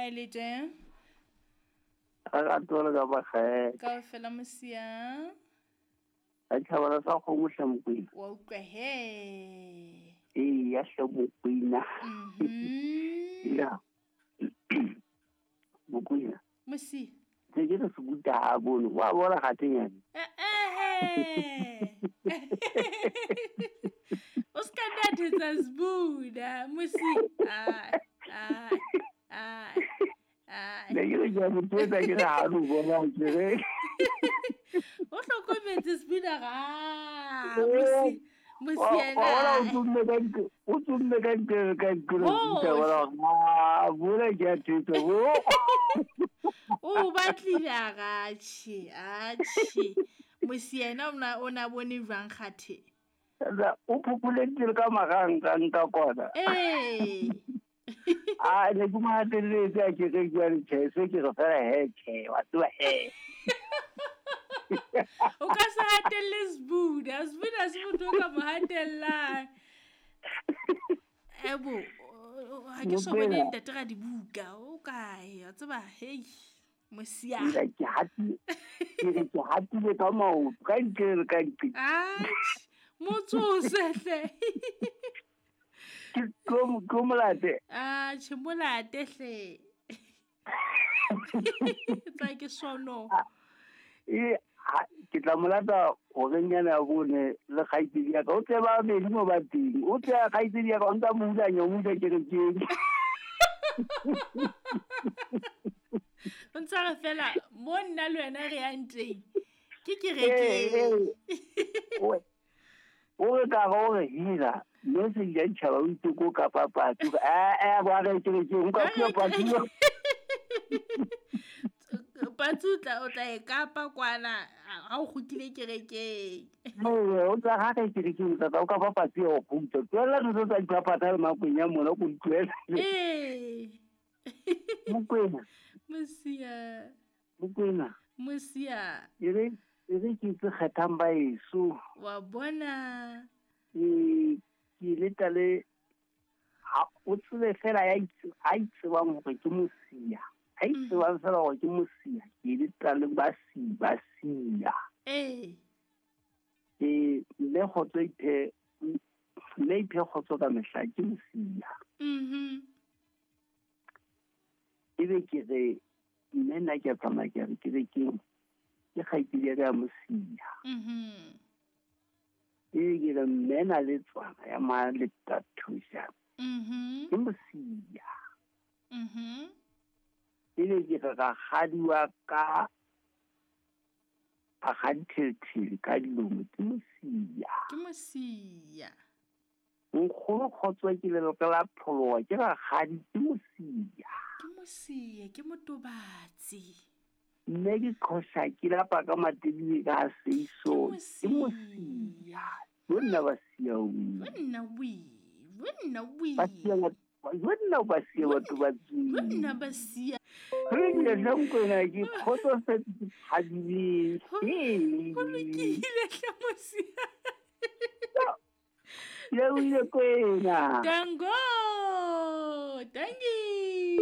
Ha e le teng. Re ka tole ka bakgele. Kaofela mosia. A tšhabala sa kgomo hle Mokwena. Wa utlwa he. Ee, ya hle Mokwena. Ya. Mokwena. Mosia. Se ke re se kuta ha bone. Wa bona gatenyane. Eh. O ska nna thetsa Sbuda, mosi. Ai, ai, ai. Ai. Ne ke re ke a mo thetsa ke re ha no bona ke re. O hlokometse Sbuda ga. Mosi. Mosi Wa bona o yena. tsomme ka ntle, o tsomme ka ntle ka ntle Oh. kuta bona. Ah, bona ke a thetsa bo. O batlile a gatšhe, atšhe. Mosi yena o na bone jwang kgathe? O phopholeditse le ka magang ka kona. Ee. A ne ke mo hatelletse a ke re jwale tjhe, se ke re fela he tjhe, wa tseba he. O ka se hatelle Sbuda, Sbuda se motho o ka mo hatellang. Ebo, ha ke so bone Mokwena. ntate ra dibuka, o kae? Wa tseba, hei, mosia. Ke hatile, ke re ke hatile ka maoto, ka ntle le ka ntle. Atjhe, motsose hle. Ke tlo molate. Atjhe, molate hle. Tsa ke sono. E, ke tla molata horeng yana ya bone le kgaitsedi ya ka. O tle ba babedi mo ba teng. O tle kgaitsedi ya ka, o ntsa mo hulanya, o mo isa kerekeng. O ntsa re fela, mo nna le wena re yang teng. Ke kerekeng. O re ka re o re hira, mme se di a ditjhaba o itse ko kapa patsi. Ba re kerekeng, o ka Ba re phia patsi. Patsi o tla e kapa kwana, ha o kgutlile kerekeng. Ee, o tla ha re kerekeng, o tla o kapa patsi ya ho kgutla. Tlohella ntho tsa dipapatsa le makwenya mona, o ko di tlohele. Ee. Mokwena. Mosia. Mokwena. Mosia. E re ke itse kgethang ba eso. Wa bona. Ee, ke le tla le, ha o tsebe fela ya itse, a itsebang hore ke mosia. A itsebang fela hore ke mosia, ke le tla le ba si, ba sia. Ee. Ee, mme kgotso iphe, mme iphe kgotso ka mehla ke mosia. Ebe ke re, mme nna ke a tsamaya ke re kerekeng, ke kgaitsedi ya ka ya mosia. Ebe ke re, mme na le tswana ya Malethathuša. Ke mosia. Ebe ke re rakgadi wa ka, rakgadi Thelethele ka dilomo, ke mosia. Ke mosia. Nkgono kgotso ke leloko la pholoha, ke rakgadi, ke mosia. Ke mosia, ke motobatsi. Mme ke qhosa ke lapa ka matebele ka seiso, Ke ke mosia. Yo nna ba sia o. Yo nna wi, yo nna wi. Ba sia ba, yo nna ba sia batho ba tswile. Yo nna ba sia. Re ile hle Mokwena, ke kgotsofetse, ke thabile. Ho lokile hle mosia. Le o ile Kwena. Tango, tangi.